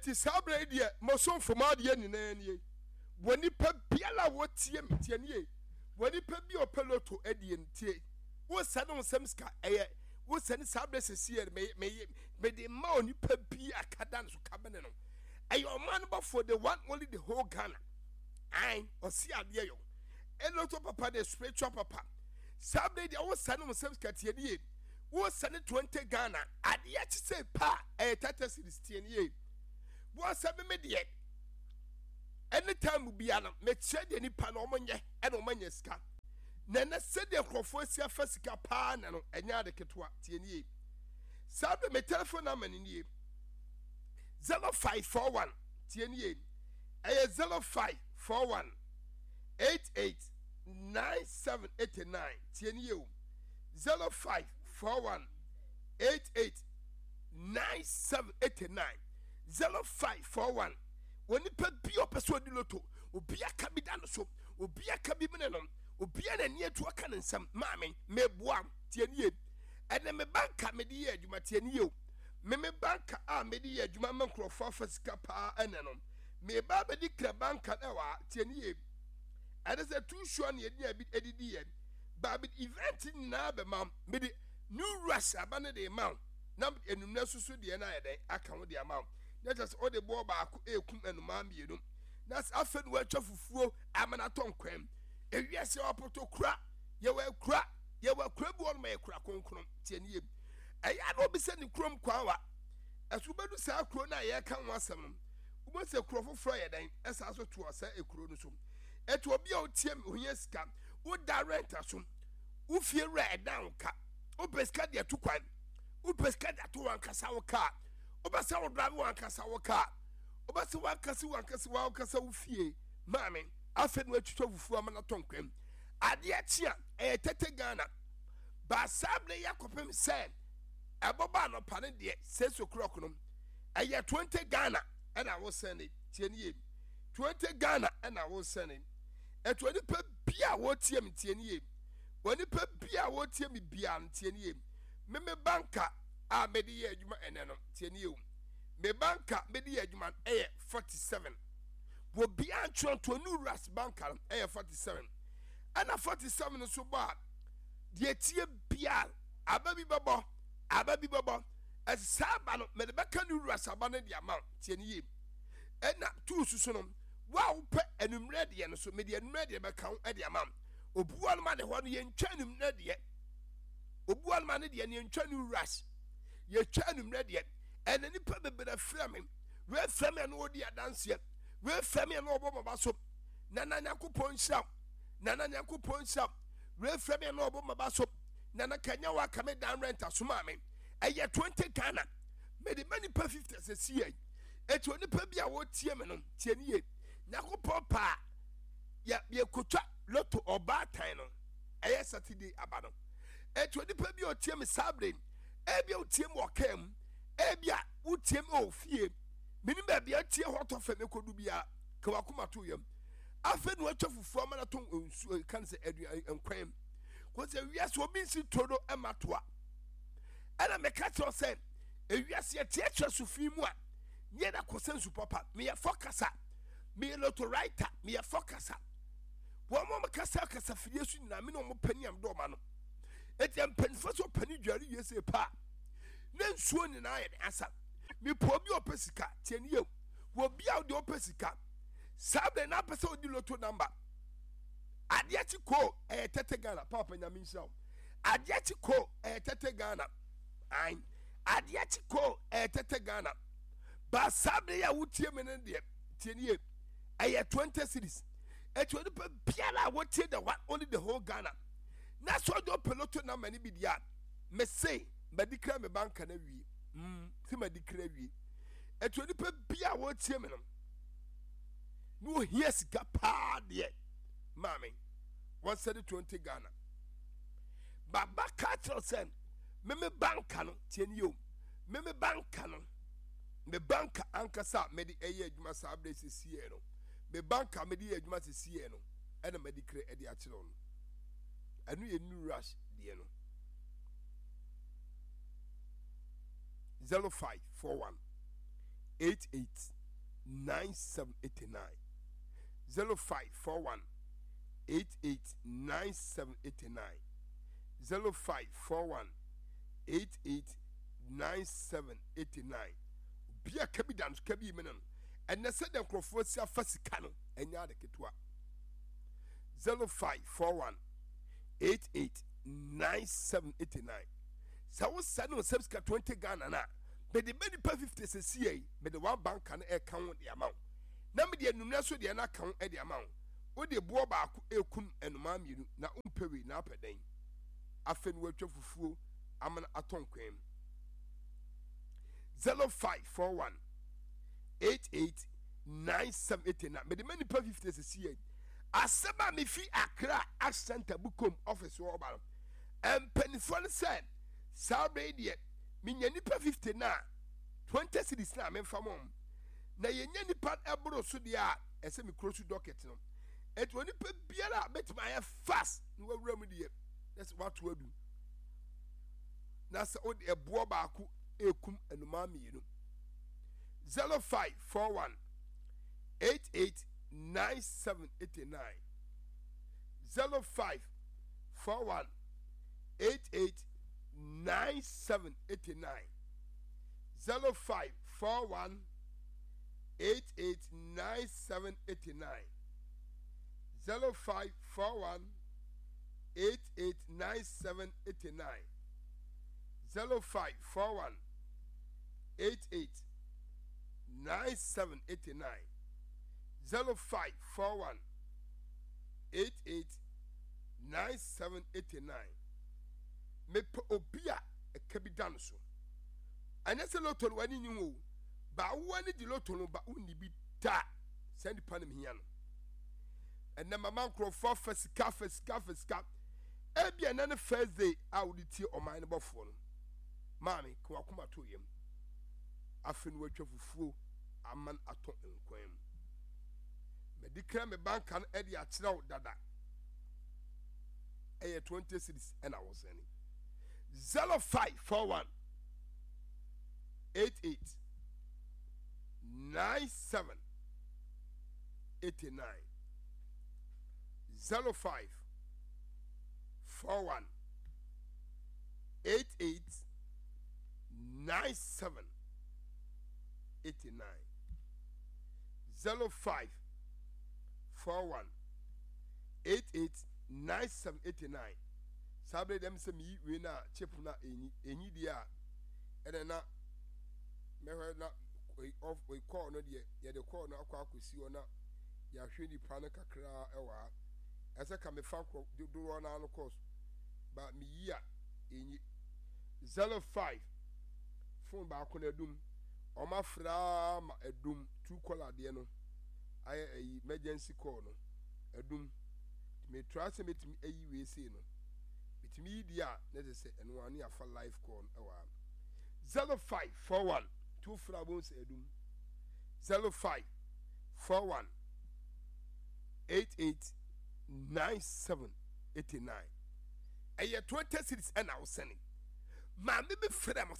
Eti saa berɛ yi deɛ, mosomfo m'adeɛ nyinaa nie. Wɔ nipa biara a wɔtie me, tie nie. Wɔ nipa bi a ɔpɛ loto adie no, tie. Wosɛne wo nsɛm sika, ɛyɛ wosɛne saa berɛ sɛsi yɛ me me mede ma onipa bi a ka da no so ka bene no. Ɛyɛ ɔman no bɔfoɔ, the one only the whole Ghana. Ae, ɔsi adeɛ yɔ. Eloto papa the spiritual papa. Saa berɛ yi deɛ wosɛne wo nsɛm sika, tie nie. Wosɛne 20 Ghana, adeɛ kye sɛ pa a, ɛyɛ 30 cedis, tie nie. Wɔsɛ me me deɛ, anytime bia no mekyerɛ deɛ nipa no wɔn nyɛ ɛna wɔn anya sika. Na ɛnɛ sɛdeɛ nkurɔfoɔ asi afa sika paa na no ɛnyɛ ade ketewa, tie nie. Saa berɛ me telephone number no nie, 0541, tie nie, ɛyɛ 0541 88 9789, tie nie o. 0541 88 9789 0541 Onipa bi a ɔpɛ sɛ ɔdi loto, obi aka bi da no so, obi aka bi mene no, obi a n'ani atu aka ne nsam, maame, meboa, tie nie. Ɛnɛ me banka mede yɛ adwuma, tie nie o. Me me banka a mede yɛ adwuma ma nkurɔfoɔ afa sika paa ɛnɛ no, meba abɛdi kra banka no ɛwɔ ha, tie nie. Ɛne sɛ too sure ne yɛde bi adidi yɛ. Baabi event nyinaa bɛma wo. Mede new rush aba no de ma wo. Na enumna susu deɛ no ayɛ dɛn aka ho de ama wo. Na kyerɛ sɛ wode boɔ baako ekum nnomaa mmienu. Na sɛ afei na woatwa fufuo ama no atɔ nkwan. Ewiase ɔpoto kura, yɛwɔ akura, yɛwɔ akura bi wɔ nom ɛyɛ kura kronkron. Tie ne yie. Ɛyɛ a na obi sɛ ne kurom kwan wa. Ɛso wobɛdu saa kuro no a yɛreka ho asɛm no, wobɛhu sɛ kuro foforɔ yɛ dɛn ɛsaa so toɔ sɛ ekuro no so. Ɛti obi a otie me ohia sika. Woda rent aso. Wo fie wura ɛdan wo ka. Wopɛ sika de atu kwan. Wopɛ sika de ato wankasa wo kaa. Wopɛ sɛ wo drive wankasa wo kaa. Wopɛ sɛ wankasa wankasa wankasa wo fie. Maame, afei na watwitwa fufuo ama no atɔ nkwam. Adeɛ kye a, ɛyɛ tete Ghana. Ba saa berɛ yi akɔpem sɛ ɛbɔbɔ anɔpa no deɛ, 6 o'clock no, ɛyɛ 20 Ghana ɛna wosɛne. Tie ne yie. 20 Ghana ɛna wosɛne. Ɛto onipa bi a wɔtie me tie ne yie. Onipa bi a wɔtie me biara no tie ne yie. Me me banka a mede yɛ adwuma ɛnɛ no tie ne yie o. Me banka mede yɛ adwuma no ɛyɛ 47. Obiara ntwerɛ nto New Ras banka no ɛyɛ 47. Ɛna 47 no so bɔ a deɛ tie biara aba bi bɛbɔ aba bi bɛbɔ. Ɛsɛ saa aba no mede bɛka New Ras aba no de ama tie ne yie. Ɛna tuu susu no Wo a wopɛ anwummerɛ deɛ no so, mede anwummerɛ deɛ bɛka wo de ama wo. Obi wɔ nom a ne hɔ no yɛntwa anwummerɛ deɛ. Obi wɔ nom a ne deɛ no yɛntwa new rush. Yɛtwa anwummerɛ deɛ. Ɛna nipa bebree frɛ me. Wei frɛ me a na ɔdi adanseɛ. Wei frɛ me a na ɔbɔ maba so. Nana Nyankopɔn nhyira wo. Nana Nyankopɔn nhyira wo. Wei frɛ me a na ɔbɔ maba so. Nana kanya wa ka me dan rent asoma me. Ɛyɛ 20 Ghana. Mede ma nipa 50 sɛ si yɛ. Eti onipa bi a wɔtie me no, tie ne yie. Nyankopɔn paa yɛ yɛkotwa loto ɔbaatan no ɛyɛ Saturday aba no. Eti onipa bi a ɔtie me saa bere ebi a wotie me wɔ kaa mu, ebi a wotie me wɔ fie. Menim baabi a tie hɔ tɔ fam ekodu biara ka wakoma to yam. Afei na watwa fufuo ama no atɔ nsuo kan sɛ aduan nkwan. Kò sɛ wiase obi nsi toro ɛma toa. Ɛna meka kyerɛ sɛ ewiase yɛkyerɛkyerɛ so fi mu a nyɛ na kɔsɛ nsu papa. Meyɛ fɔ kasa, meyɛ loto writer, meyɛ fɔ kasa. Wɔn mo kasa kasa fidie so nyinaa me ne wɔn panyin am dɔɔma no. Eti mpanyinfoɔ sɛ ɔpanyin dware yie sɛ paa ne nsuo nyinaa yɛ de asa. Mepɛ obi a ɔpɛ sika tie ne yie. Wɔ obi a ɔde ɔpɛ sika saa bɛn na apɛ sɛ ɔdi loto number. Adeɛ kye koo ɛyɛ tɛtɛ Ghana paapa nyame nhyira wo. Adeɛ kye koo ɛyɛ tɛtɛ Ghana. Ae adeɛ kye koo ɛyɛ tɛtɛ Ghana. Ba saa bere yi a wotie me no deɛ tie nie ɛyɛ 20 cities. Eti onipa biara a wotie the one only the whole Ghana. Na sɛ ɔde ɔpɛ loto number no bi deɛ a me se madi kra me banka no awie. Mm, se madi kra awie. Eti onipa biara a wotie me no na ohia sika paa deɛ maame wɔnsɛde 20 Ghana. Baba ka kyerɛ sɛ meme banka no tie ne yio meme banka no me banka ankasa a mede ɛyɛ adwuma saa berɛ sisiɛ no me banka mede yɛ adwuma sisiɛ no ɛna mede kra ɛde akyerɛ no ɛno yɛ new rush deɛ no 0541. 88 97 89 0541 88 97 89 0541 88 97 89. Obi a ka bi da no so ka bi mene no. Ɛnɛ sɛdeɛ nkurɔfoɔ si afa sika no, ɛnyɛ ade ketewa. 0541 88 97 89. Sɛ wosɛ ne nsɛm sika 20 Ghana no a, mede bɛ nipa 50 sɛsi yi, mede one banka no ɛka ho de ama wo, na mede anummerɛ so deɛ no aka ho de ama wo. Wode boɔ baako ɛkum nnomaa mmienu, na wompɛ wei na apɛ dɛn? Afei no woatwa fufuo amena atɔ nkwan mu. 0541 88 9789. Mede ma nipa 50 sɛsi yi. Asɛm a mefi Accra Ash Center Bukom office hɔ ɔba no, mpanimfoɔ no sɛ saa berɛ yi deɛ menya nipa 50 no a, 20 cedis no a memfa mɔ m, na yɛnya nipa ɛboro so deɛ a, ɛsɛ me kuro so docket no. Ɛnti onipa biara a bɛtumi ayɛ fast na wawura mu deɛ, na sɛ wato adu na sɛ wode ɛboɔ baako ɛkum nnomaa mmienu. 0541 88 9789 0541 88 9789 0541 88 9789 0541 88 9789 0541 88 9789 0541 88 9789. Mepɛ obi a ɛka bi da no so. Ɛnyɛ sɛ loto no w'ani nyi ho o, ba wo ani gye loto no ba wonni bi da. Saa nipa no mehia no. Ɛnɛ mama nkurɔfoɔ afa sika, afa sika, afa sika. Ebi ɛnɛ ne first day a wode tie ɔman no bɔfoɔ no. Maame, ka wakoma to yam. Afei no watwa fufuo aman atɔ nkwan mu. Madi kan me banka no de akyerɛ wo dada. Ɛyɛ 20 cedis ɛna wosɛne. 0541 88 97 89 05 41 88 97 89 05 41 88 97 89. Saa bere dɛm sɛ meyi wei na chip na enyi enyi deɛ a, ɛna na mɛhwɛ na off kɔɔ no deɛ, yɛde kɔɔ no akɔ akɔsi hɔ na yɛahwɛ nipa no kakraa ɛwɔ ha. Ɛsɛ ka mefa korɔ dodoɔ no ano kɔɔ so ba meyi a enyi. 05 phone baako na adum, ɔma afraa ma adum two caller deɛ no ayɛ ayi emergency call no adum. Metra sɛ metumi ayi wei sei no, metumi yi deɛ a na ɛsɛ sɛ ɛno ano yɛafa live call no ɛwɔ ha. 0541 two fra bom sɛ adum. 0541 88 97 89. Ɛyɛ 20 cedis ɛna wosɛne. Maame bi frɛ mo.